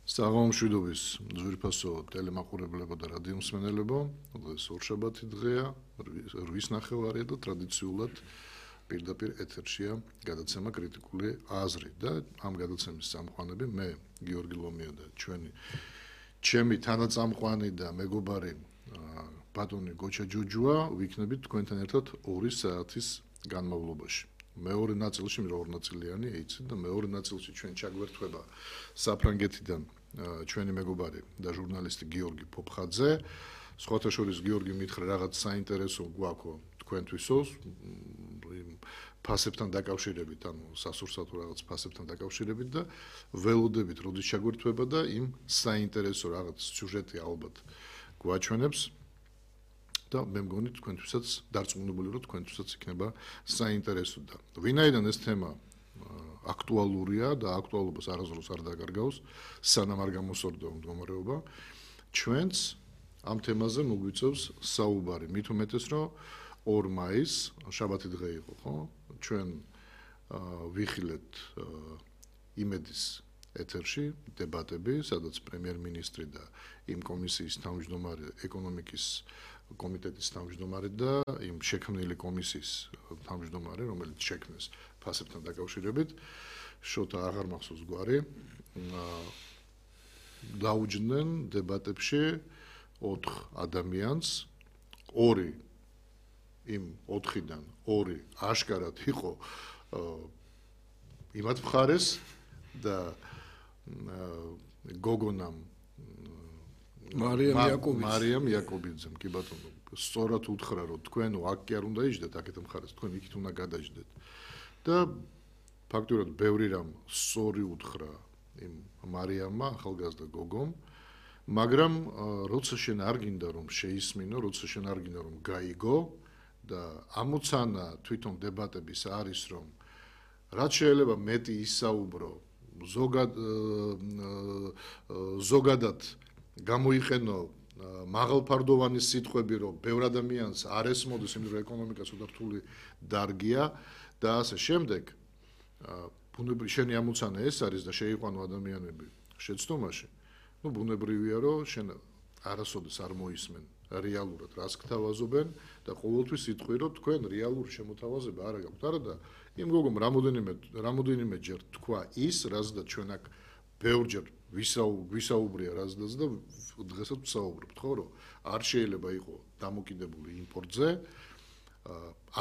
საღამომშვიდობის ძვირფასო ტელემაყურებლებო და რადიო მსმენელებო, დღეს ორშაბათი დღეა, 8:30 და ტრადიციულად პირდაპირ ეთერშია გადაცემა კრიტიკული აზრი და ამ გადაცემის წამყვანები მე გიორგი ლომია და ჩემი თანაწამყვანი და მეგობარი ბატონი გოჩა ჯუჯუა ვიქნებით თქვენთან ერთად 2 საათის განმავლობაში. მეორე ნაწილში მეორე ნაწილიანი ეიცი და მეორე ნაწილში ჩვენ ჩაგვერთვება საფრანგეთიდან ჩვენი მეგობარი და ჟურნალისტი გიორგი პოპხაძე. სხვათა შორის გიორგი მითხრა რაღაც საინტერესო გვაქვს თქვენთვისო ფასებთან დაკავშირებით, ანუ სასურსათო რაღაც ფასებთან დაკავშირებით და ველოდებით როდის ჩაგვერთვება და იმ საინტერესო რაღაც სიუჟეტი ალბათ გვაჩვენებს. და მე მგონი თქვენთვისაც დარწმუნებული რომ თქვენთვისაც იქნება საინტერესო და ვინაიდან ეს თემა აქტუალურია და აქტუალობას არასდროს არ დაგარგავს სანამ არ გამოსორდება მდგომარეობა ჩვენც ამ თემაზე მოგვიწევს საუბარი მით უმეტეს რომ 2 მაისს შაბათი დღე იყო ხო ჩვენ ვიხილეთ იმედის ეთერში დებატები სადაც პრემიერ-მინისტრი და იმ კომისიის თავმჯდომარე ეკონომიკის კომიტეტის თავმჯდომარე და იმ შექმნილი კომისიის თავმჯდომარე, რომელიც შექმნეს ფასებთან დაკავშირებით, შოთა აღარ მახსოვს გვარი, დაუჯდნენ დებატებში 4 ადამიანს, 2 იმ 4-დან 2 აშკარად იყო იმათ მხარეს და გოგონამ მარიამ იაკობიძემ კი ბატონო სწორად უთხრა რომ თქვენო აქ კი არ უნდა იჯდეთ აქეთ მხარეს თქვენ იქით უნდა გადაიჯდეთ და ფაქტურად ბევრი რამ სწორი უთხრა იმ მარიამმა ახალგაზრდა გოგომ მაგრამ როცა შენ არ გინდა რომ შეისმინო როცა შენ არ გინდა რომ გაიგო და ამოცანა თვითონ დებატების არის რომ რაც შეიძლება მეტი ისაუბრო ზოგადად გამოიყენო მაღალფარდოვანი სიტყვები რომ ბევრ ადამიანს არ ესმოდეს იმ რომ ეკონომიკა ცოტა რთული დარგია და ასე შემდეგ ბუნებრივი შენი ამოცანა ეს არის და შეიყვანო ადამიანები შეცდომაში ну ბუნებრივია რომ შენ არასოდეს არ მოისმენ რეალურად რას გთავაზობენ და ყოველთვის იტყვი რომ თქვენ რეალური შემოთავაზება არ გაქვთ არა და იმ გოგომ რამოდენიმე ჯერ თქვა ის რაზეც ჩვენ აქ ბევრჯერ ვისაუბრია რაზეც და დღესაც ვსაუბრობთ ხო რომ არ შეიძლება იყოს დამოკიდებული იმპორტზე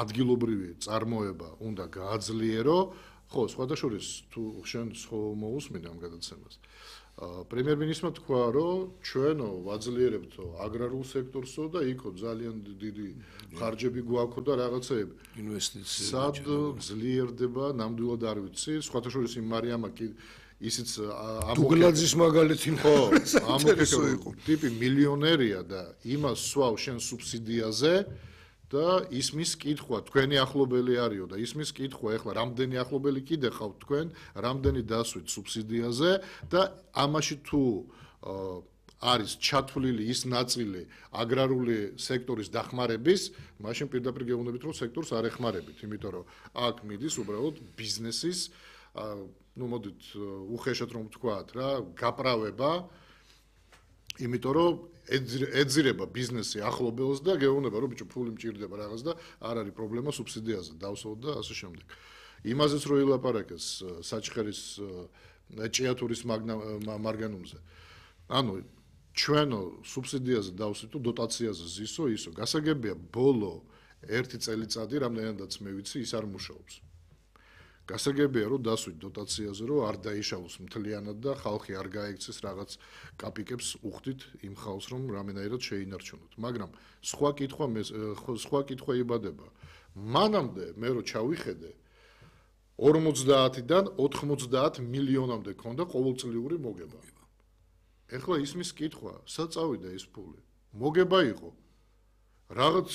ადგილობრივი წარმოება უნდა გააძლიერო ხო სხვათა შორის თუ შენ მოусმინე ამ გადაცემას პრემიერ-მინისტრმა თქვა რომ ჩვენო ვაძლიერებთო აგრარულ სექტორსო და იქო ძალიან დიდი ხარჯები გვაქვს და რაღაცეები ინვესტიციები სად ძლიერდება ნამდვილად არ ვიცი სხვათა შორის იმ მარიამა კი ისიც დუგლაძის მაგალითი ხო ამოკეთო ტიპი მილიონერია და იმას სვავ შენ სუბსიდიაზე და ისმის კითხვა თქვენი ახლობელი არისო და ისმის კითხვა ეხლა რამდენი ახლობელი კიდე ხავთ თქვენ რამდენი დასვით სუბსიდიაზე და ამაში თუ არის ჩათვლილი ის ნაწილი აგრარული სექტორის დახმარების მაშინ პირდაპირ გეუბნებით რომ სექტორს არ ეხმარებით იმიტომ რომ აქ მიდის უბრალოდ ბიზნესის ну მოდით უხეშად რომ ვთქვათ რა გაправება იმიტომ რომ ეძირება ბიზნესი ახლობელს და გეუბნება რომ ბიჭო ფული მჭირდება რაღაც და არ არის პრობლემა სუბსიდიაზე დავსვათ და ასე შემდეგ იმაზეც რო ილაპარაკეს საჩხერის ჭიათურის მარგანუმზე ანუ ჩვენო სუბსიდიაზე დავსვით თუ დოტაციაზე ზისო ისო გასაგებია ბოლო 1 წელიწადი რამდენადაც მე ვიცი ის არ მუშაობს გასაგებია რომ დასვით დოტაციაზე რომ არ დაიშალოს მთლიანად და ხალხი არ გაექცეს რაღაც კაპიკებს უხდით იმ ხალხს რომ რამენაირად შეინარჩუნოთ მაგრამ სხვა კითხვა იბადება მანამდე მე რო ჩავიხედე 50-დან 90 მილიონამდე ქონდა ყოველწლიური მოგება ეხლა ისმის კითხვა სად წავიდა ეს ფული მოგება იყო რაღაც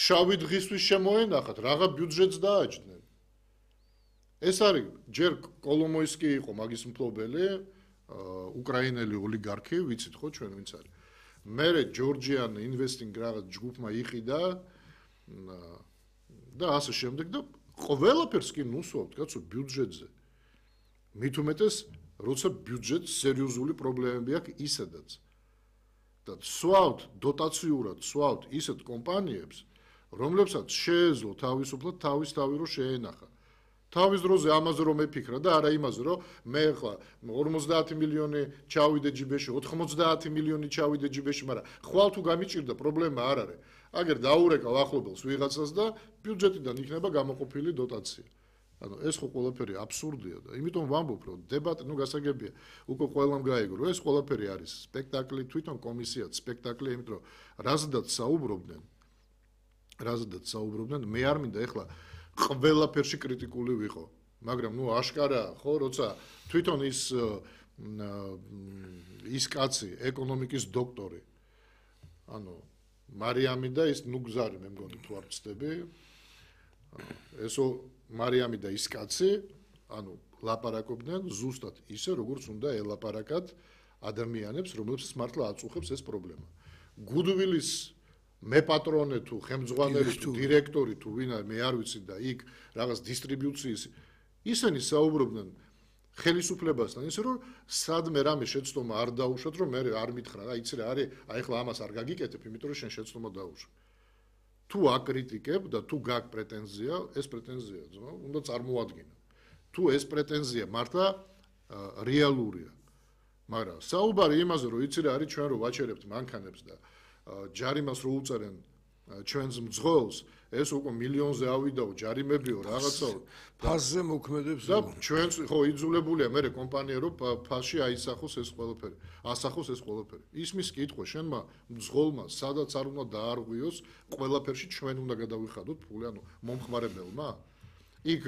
შავი დღისთვის შემოენახათ რაღაც ბიუჯეტს დააჭდნენ ეს არის ჯერ კოლომოისკი იყო მაგის მფლობელი უკრაინელი ოლიგარქი ვიცით ხო ჩვენ ვინც არის მერე ჯორჯიან ინვესტინგ რაღაც ჯგუფმა იყიდა და ასე შემდეგ და ყველაფერს კი ნუსვავთ კაცო ბიუჯეტზე მით უმეტეს როცა ბიუჯეტს სერიოზული პრობლემები აქვს ისედაც. და სვავთ დოტაციურად, სვავთ ისეთ კომპანიებს, რომლებსაც შეეძლო თავისუფლად თავი რო შეენახა. თავის დროზე ამაზე რომ ეფიქრა და არა იმაზე რომ მე ხა 50 მილიონი ჩავიდე ჯიბეში, 90 მილიონი ჩავიდე ჯიბეში, მაგრამ ხვალ თუ გამიჭირდა პრობლემა არ არის. აგერ დაურეკავ ახლობელს ვიღაცას და ბიუჯეტიდან იქნება გამოყოფილი დოტაცია. ანუ ეს ხო ყველაფერი აბსურდია და იმიტომ ვამბობ რომ დებატი გასაგებია უკვე ყველამ გაიგო ეს ყველაფერი არის სპექტაკლი თვითონ კომისიაც სპექტაკლი იმიტომ რომ რაზედაც საუბრობდნენ მე არ მინდა ეხლა ყველაფერში კრიტიკული ვიყო მაგრამ აშკარაა ხო როცა თვითონ ის კაცი ეკონომიკის დოქტორი ანუ მარიამი და ის გზარი მე მგონი თუ არ ვწდები ესო მარიამი და ის კაცი, ანუ ლაპარაკობდნენ ზუსტად ისე, როგორც უნდა ელაპარაკათ ადამიანებს, რომლებსაც მართლა აწუხებს ეს პრობლემა. გუდვილის მეპატრონე თუ ხელმძღვანელი თუ დირექტორი თუ ვინ არის, მე არ ვიცი და იქ რაღაც დისტრიბუციის ისინი საუბრობდნენ ხელისუფლებასთან, ისე რომ სადმე რამე შეცდომა არ დაუშვათ, რომ მე არ მითხრა, რა იცი რა არის, აი ახლა ამას არ გაგიკეთებ, იმიტომ რომ შენ შეცდომა დაუშვა. თუ აკრიტიკებ და თუ გაქვს პრეტენზია, ეს პრეტენზია უნდა წარმოადგინო. თუ ეს პრეტენზია მართლა რეალურია. მაგრამ საუბარი იმაზე, რომ იცი რა არის ჩვენ რო ვაჩერებთ მანქანებს და ჯარიმას რო უწერენ ჩვენს მძღოლს, ეს უკვე მილიონზე ავიდაო ჯარიმებიო რაღაცაო. ფასზე მოქმედებს და ჩვენც ხო იძულებულია მე კომპანია რო ფასში აისახოს ეს ყველაფერი. ასახოს ეს ყველაფერი. ისმის კითხვა შენმა მძღოლმა სადაც არ უნდა დაარღვიოს, ყველაფერში ჩვენ უნდა გადავიხადოთ ფული, ანუ მომხმარებელმა. იქ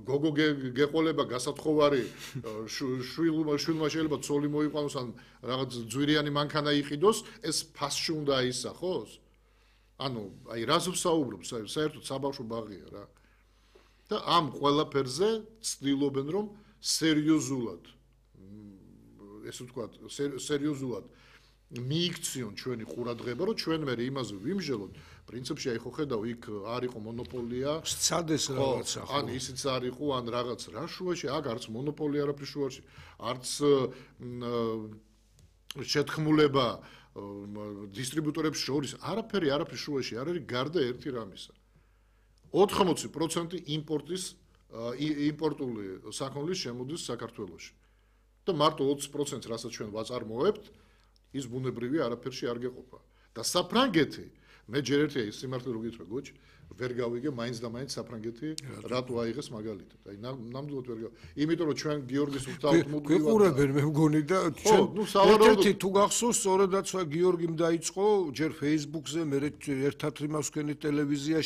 გოგო გეყოლება გასათხოვარი შვილმა შეიძლება ცოლი მოიყვანოს ან რაღაც ძვირიანი მანქანა იყიდოს, ეს ფასში უნდა აისახოს. ანუ აი რას ვსაუბრობ, საერთოდ საბავშვო ბაღია რა. და ამ ყველაფერზე ცდილობენ რომ სერიოზულად ესე ვთქვათ, სერიოზულად მიიქციონ ჩვენი ყურადღება, რომ ჩვენ მე იმაზე ვიმსჯელოთ, პრინციპში აი ხო ხედავ, იქ არ იყო მონოპოლია, სცადეს რაღაცა ხო. ან ისიც არ იყო, ან რაღაც რა შუაში, აქ არც მონოპოლია არაფრის შუაში, არც შეთქმულება დისტრიბუტორებს შორის, არაფრის შუაში არ არის გარდა ერთი რამისა. 80% იმპორტული საქონლის შემოდის საქართველოში. და მარტო 20%-ს რასაც ჩვენ ვაწარმოებთ, ის ბუნებრივი არაფერში არ გეყოფა. და საფრანგეთი, მე ჯერ ერთი ის სიმართლე რო გითხრა გოჩ, ვერ გავიგე მაინც და მაინც საფრანგეთი რატო აიღეს მაგალითად. აი ნამდვილად ვერ გავიგე. იმიტომ რომ ჩვენ გიორგის უთაოთ მუდმივად გვიყურებენ მე მგონი და ჩვენ ერთ-ერთი თუ გახსოვს, სწორედაც გიორგიმ დაიწყო ჯერ Facebook-ზე, მე ერთად იმას ვქენით ტელევიზიაში